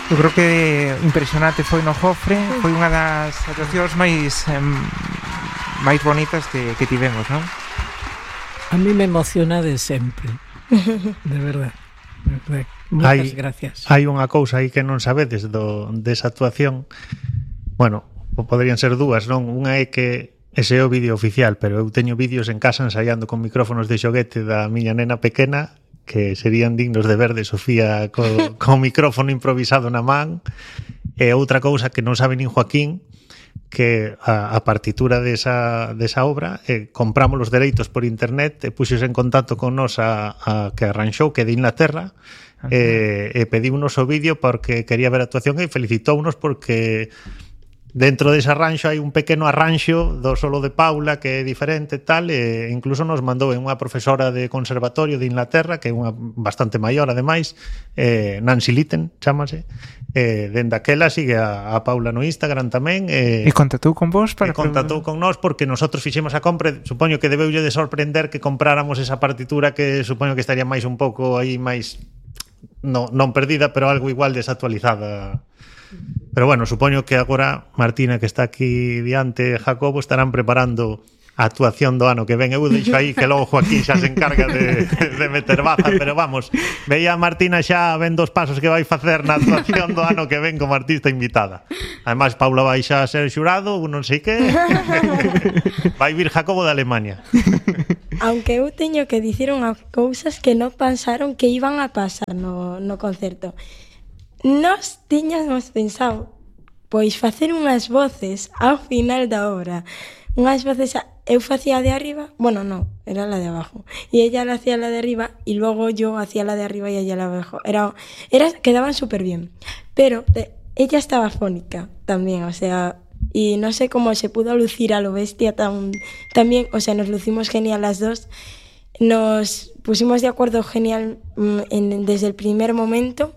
Eu creo que impresionante foi no Jofre, foi unha das actuacións máis bonitas que tivemos, non? A mí me emociona de sempre, de verdad. Moitas gracias. Hai unha cousa aí que non sabedes desa actuación. Bueno, poderían ser dúas, non? Unha é que ese é o vídeo oficial, pero eu teño vídeos en casa ensaiando con micrófonos de xoguete da miña nena pequena que serían dignos de ver de Sofía co micrófono improvisado na man. E outra cousa que non sabe nin Joaquín, que a partitura desa obra compramos os dereitos por internet e puxos en contacto con nos a que arranxou, que de Inglaterra, e pedímonos o vídeo porque quería ver a actuación e felicitounos porque dentro dese arranxo hai un pequeno arranxo do solo de Paula que é diferente tal, e incluso nos mandou unha profesora de conservatorio de Inglaterra, que é unha bastante maior ademais, Nancy Litton chámase. Dende aquela sigue a Paula no Instagram tamén, e contactou con vos para contactou con nós porque nosotros fixemos a compra. Supoño que debeulle de sorprender que compráramos esa partitura, que supoño que estaría máis un pouco aí máis non perdida, pero algo igual desactualizada. Pero bueno, supoño que agora Martina, que está aquí diante, Jacobo, estarán preparando a actuación do ano que ven. Eu deixo aí que logo Joaquín xa se encarga de meter baza, pero vamos, veía a Martina xa ven dos pasos que vai facer na actuación do ano que ven como artista invitada. Ademais, Paula vai xa ser xurado, non sei que. Vai vir Jacobo de Alemania. Aunque eu teño que dicir unhas cousas que non pensaron que iban a pasar no concerto. Nós tiñamos pensado pois facer unhas voces ao final da obra. Unhas voces, eu facía de arriba, bueno, non, era la de abajo, e ella la hacía la de arriba, y luego yo hacía la de arriba y ella la de abajo. Quedaban súper bien, pero ella estaba fónica también, o sea, y no sé cómo se pudo lucir a lo bestia también, o sea, nos lucimos genial las dos, nos pusimos de acuerdo genial desde el primer momento,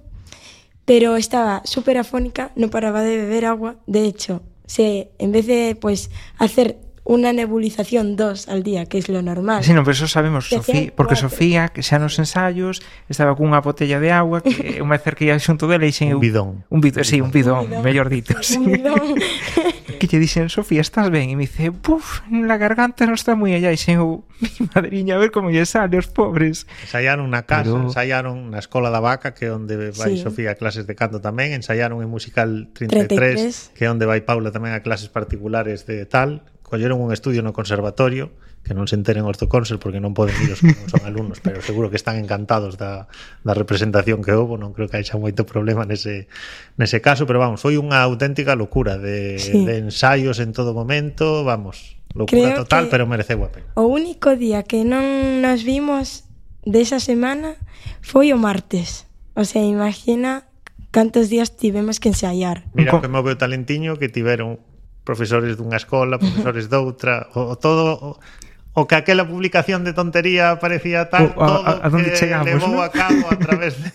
pero estaba súper afónica, no paraba de beber agua. De hecho, en vez de pues hacer una nebulización 2 al día, que es lo normal. Sí, no, pero eso sabemos, Sofía, porque Sofía, que xa nos ensayos, estaba cunha botella de agua, que unha vez que ia xunto dele, e un bidón. Un bidón, mellor dito. Sí. Un bidón. Que lle dixen, Sofía, estás ben? E me dice, la garganta non está moi allá. E xen, mi madriña, a ver como lle sale os pobres. Ensayaron na casa, ensayaron na Escola da Vaca, que é onde vai Sofía a clases de canto tamén, ensayaron en Musical 33, que é onde vai Paula tamén a clases particulares de tal. Colleron un estudio no conservatorio, que non se enteren os do Consel porque non poden ir os que non son alumnos, pero seguro que están encantados da representación que houve. Non creo que haixa moito problema nese caso, pero vamos, foi unha auténtica locura de ensaios en todo momento, vamos, locura creo total, pero mereceu a pena. O único día que non nos vimos desa semana foi o martes, o sea, imagina cantos días tivemos que ensaiar. Mira que move o talentiño que tiveron profesores dunha escola, profesores doutra, o que aquela publicación de tontería parecía tal, todo a donde que chegamos, levou a cabo a través de...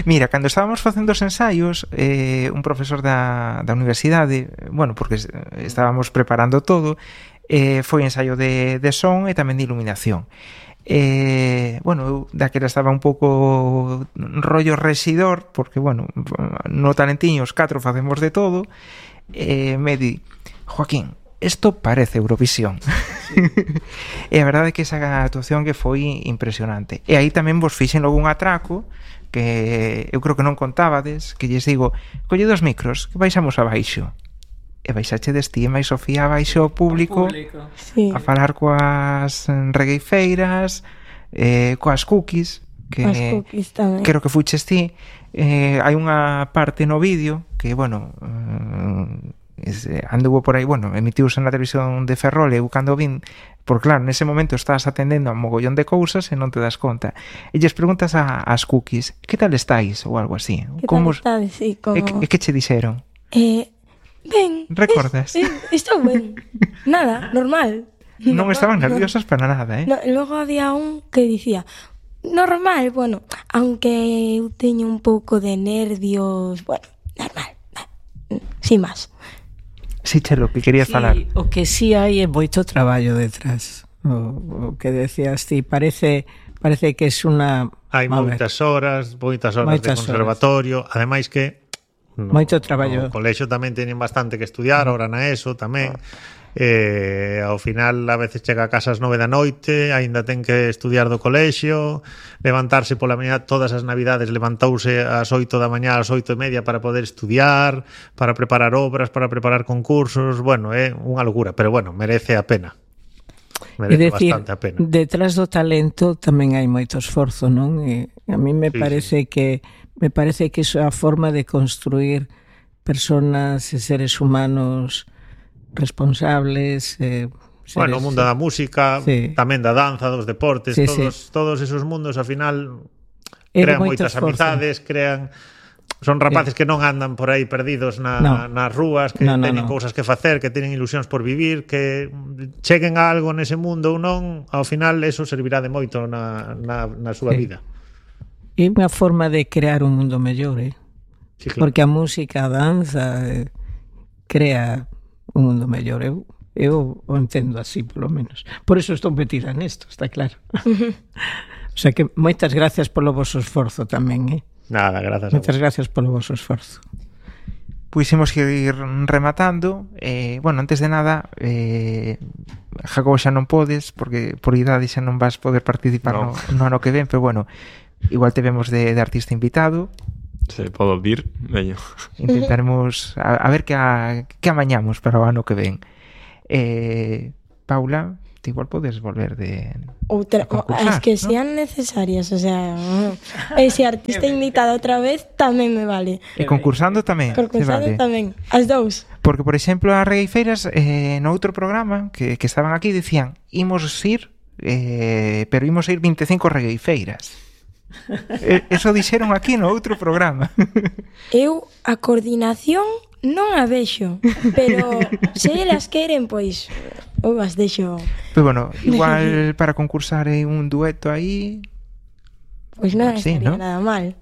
Mira, cando estábamos facendo os ensaios, un profesor da universidade, bueno, porque estábamos preparando todo, foi ensaio de son e tamén de iluminación. Bueno, eu daquela estaba un pouco rollo residor, porque, bueno, no talentiño os 4 facemos de todo. Me di, Joaquín, isto parece Eurovisión. Sí. E a verdade é que esa actuación que foi impresionante. E aí tamén vos fixen logo un atraco que eu creo que non contábades, que lles digo, colle dos micros, que baixamos abaixo. E baixache destí e máis Sofía abaixo ao público. Sí. A falar coas regueifeiras, coas cookies, que creo que fuches ti. Hai unha parte no vídeo que, bueno, anduvo por aí, bueno, emitiuse na televisión de Ferrol, eu cando vin, porque claro, nese momento estás atendendo a un mogollón de cousas e non te das conta, e lles preguntas ás cookies, que tal estáis, ou algo así, que tal estades, sí, como... E que che dixeron? Ben, recordas? Estou ben, nada, normal. Non estaban nerviosas para nada, No, logo había un que dicía, normal, bueno, aunque eu teño un pouco de nervios, bueno, normal, sin más. Sí, Chelo, que querías falar. O que sí hai é moito traballo detrás. O que decías ti, parece que é unha... Hai moitas horas de conservatorio, ademais que Moito traballo. No colexio tamén teñen bastante que estudiar, ahora na ESO tamén. Ao final a veces chega a casa ás 9 da noite, aínda ten que estudiar do colexio, levantarse pola mañá, todas as navidades levantouse ás 8 da mañá, ás 8:30 para poder estudiar, para preparar obras, para preparar concursos. Bueno, é unha locura, pero bueno, merece a pena. Merece bastante a pena. Detrás do talento tamén hai moito esforzo, non? E a mí me parece que iso é a forma de construir personas e seres humanos responsables, bueno, o mundo da música, tamén da danza, dos deportes, todos esos mundos ao final crean moitas amizades, son rapaces que non andan por aí perdidos nas rúas, que teñen cousas que facer, que teñen ilusións por vivir, que cheguen a algo nese mundo ou non, ao final eso servirá de moito na súa vida. É unha forma de crear un mundo mellor, Sí, claro. Porque a música, a danza crea un mundo mellor. Eu o entendo así, polo menos. Por eso estou metida nesto, está claro. O sea que moitas gracias polo vosso esforzo tamén, Nada, grazas. Moitas gracias polo vosso esforzo. Pois imos ir rematando. Bueno, antes de nada, Jacobo xa non podes, porque por idade xa non vas poder participar no ano que ven, pero bueno, igual te vemos de artista invitado. Se podo vir, veño. Intentaremos a ver que amañamos para o ano que ven. Paula, te igual podes volver de as que sean necesarias, o sea, ese artista invitado outra vez tamén me vale. E concursando tamén. Concursando tamén, as dous. Porque, por exemplo, as regueifeiras no outro programa que estaban aquí decían, imos ir, pero imos ir 25 regueifeiras. Eso dixeron aquí no outro programa. Eu a coordinación non a vexo, pero se elas queren, pois eu as deixo. Pero bueno, igual para concursar en un dueto aí, pois non estaría nada mal.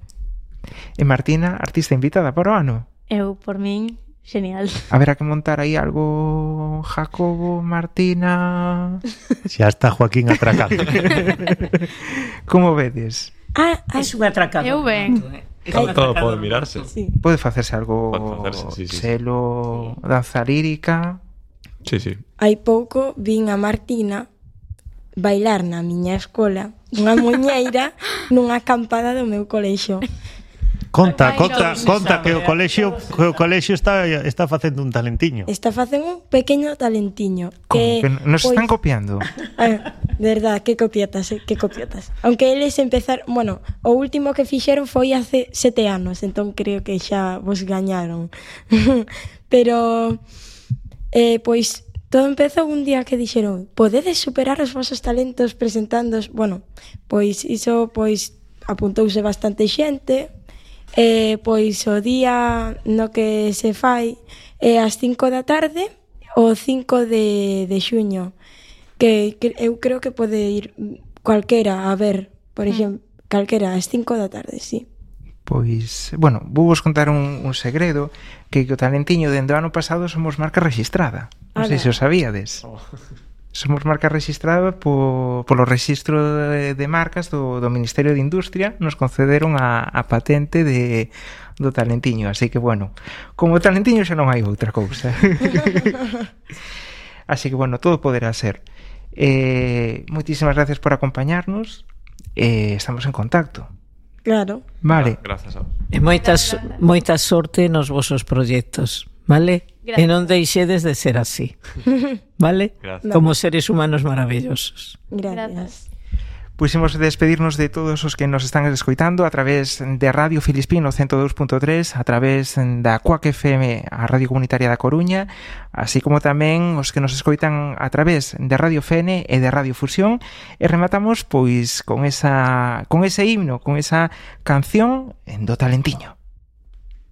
E Martina, artista invitada para o ano. Eu, por min, genial. Haberá que montar aí algo, Jacobo, Martina. Xa está Joaquín atracando. Como vedes? É un atracado. Eu ben. Todo pode mirarse. Sí. Pode facerse algo, selo, danza lírica. Sí. Hai pouco vin a Martina bailar na miña escola unha muñeira nunha acampada do meu colexio. Conta que o colexio está facendo un talentiño. Está facendo un pequeno talentiño. Que nos están copiando. De verdad, que copietas. Aunque eles empezaron, bueno, o último que fixeron foi hace 7 anos, entón creo que xa vos gañaron. Pero pois todo empezou un día que dixeron, podedes superar os vosos talentos presentándoos. Bueno, pois iso apuntouse bastante xente. Pois o día no que se fai é ás 5 da tarde, o 5 de xuño, que eu creo que pode ir cualquera a ver, por exemplo, calquera ás 5 da tarde, sí. Pois, bueno, vou vos contar un segredo, que o talentiño dende o ano pasado somos marca rexistrada. Non sei se o sabíades. Somos marca rexistrada polo registro de marcas do Ministerio de Industria. Nos concederon a patente do talentiño. Así que, bueno, como talentiño xa non hai outra cousa. Así que, bueno, todo poderá ser. Moitísimas gracias por acompañarnos. Estamos en contacto. Claro. Vale. Grazas a vos. E moita sorte nos vosos proxectos, vale? Gracias. E non deixedes de ser así, vale? Gracias. Como seres humanos maravillosos. Gracias. Pois imos despedirnos de todos os que nos están escoitando a través de Radio Filispino 102.3, a través da Cuac FM, a Radio Comunitaria da Coruña, así como tamén os que nos escoitan a través de Radio FN e de Radio Fusión, e rematamos pois con ese himno, con esa canción do talentiño.